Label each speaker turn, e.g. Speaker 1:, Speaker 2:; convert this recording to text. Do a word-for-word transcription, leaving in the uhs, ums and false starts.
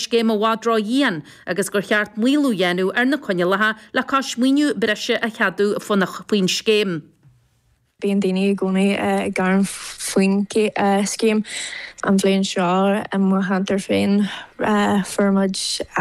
Speaker 1: scéim i bhfad ró-dhian agus gur cheart maolú a dhéanamh ar na coinníollacha le cois maoiniú breise a cheadú faoin scéim.
Speaker 2: Bíonn daoine i gcónaí ag gearán faoin scéim an bhliain seo i mo cheantar féin fuair muid